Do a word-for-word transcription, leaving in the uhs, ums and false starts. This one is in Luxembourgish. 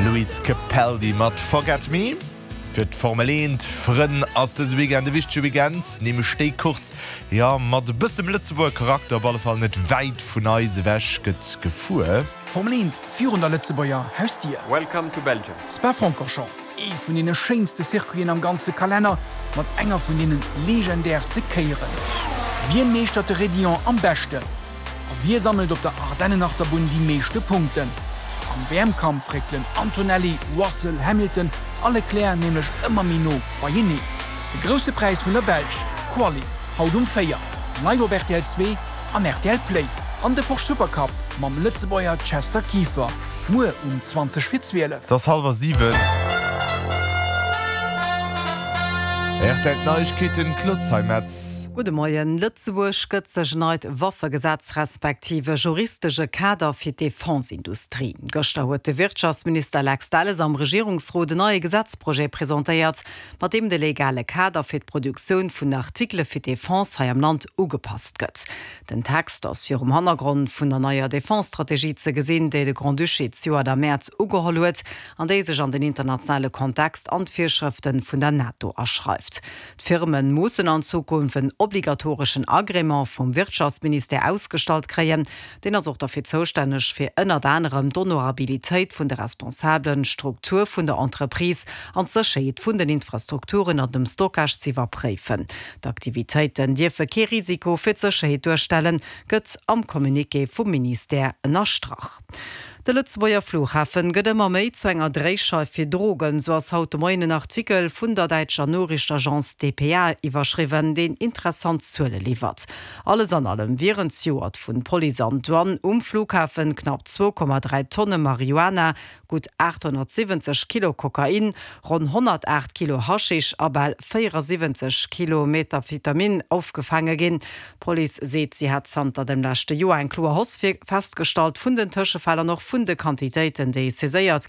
Lewis Capaldi mat Forget Me. Fir d'Formel eent Frënn ass dëse Weekend e wichtege Weekend, nämlech déi Course, jo, mat e bësse Lëtzebuerger Charakter, op alle Fall net wäit vun eis ewech gëtt gefuer. D'Formel eent virun der Lëtzebuerger Hausdier. Welcome to Belgium. Spa-Francorchamps, ee vun deene schéinste Circuiten am ganze Kalenner, mat enger vun deene legendärste Kéieren. Wien meeschtert de Raidillon am beschten? A wie sammelt op der Ardennenachterbunn déi meeschte Punkten? Am W M-Kampf réckelen Antonelli, Russell, Hamilton a Leclerc nämlech ëmmer méi no beieneen. De Grousse Präis vun der Belsch, Quali, haut um véier, live op R T L zwee an R T L Play. An de Porsche Supercup mam Lëtzebuerger Chester Kieffer, muer um zwanzeg vir zwielef. Et ass hallwer siwen. R T L Neiegkeeten, Claude Zeimetz. Gudde Moien. Lëtzebuerg gëtt sech en neit Waffegesetz respektiv e juristesche Kader fir d'Defense-Industrie. Gëschter huet de Wirtschaftsminister Lex Delles am Regierungsrot en neie Gesetzprojet presentéiert, mat deem de legale Kader fir d'Produktioun vun Artikele fir d'Defense hei am Land ugepasst gëtt. Den Text ass virum Hannergrond vun der neier Defense-Strategie ze gesinn, déi de Grand-Duché zejoert am Mäerz ugeholl huet an déi sech an den internationale Kontext an d'Virschrëfte vun der NATO aschreift. D'Firme mussen an Zukunft en obligatoreschen Agrément vum Wirtschaftsministère ausgestallt kréien. Deen ass och derfir zoustänneg, fir ënnert anerem d'Honorabilitéit vun de Responsabelen, d'Struktur vun der Entreprise an d'Sécherheet vun den Infrastrukturen an dem Stockage z'iwwerpréifen. D'Aktivitéiten dierfe kee Risiko fir d'Sécherheet duerstellen, gëtt am Communiqué vum Ministère ënnerstrach. De Lëtzebuerger Flughafen gëtt ëmmer méi zu enger Dréischeif fir Drogen, sou ass haut de Moien en Artikel vun der däitscher Noriichtenagence D P A iwwerschriwwen, deen interessant Zuele liwwert. Alles an allem wieren zejoert vun Police an Douane um Flughafen knapp zwou Komma dräi Tonne Marihuana, gutt aathonnertsiwwenzeg Kilo Kokain, ronn honnertaacht Kilo Haschisch a bal véierasiwwenzeg Kilo Methamphetamin ofgefaange ginn. D'Police seet, si hätt zanter dem leschte Joer eng kloer Hausse festgestallt vun den Tëschefäll an och vun de Quantitéiten, déi saiséiert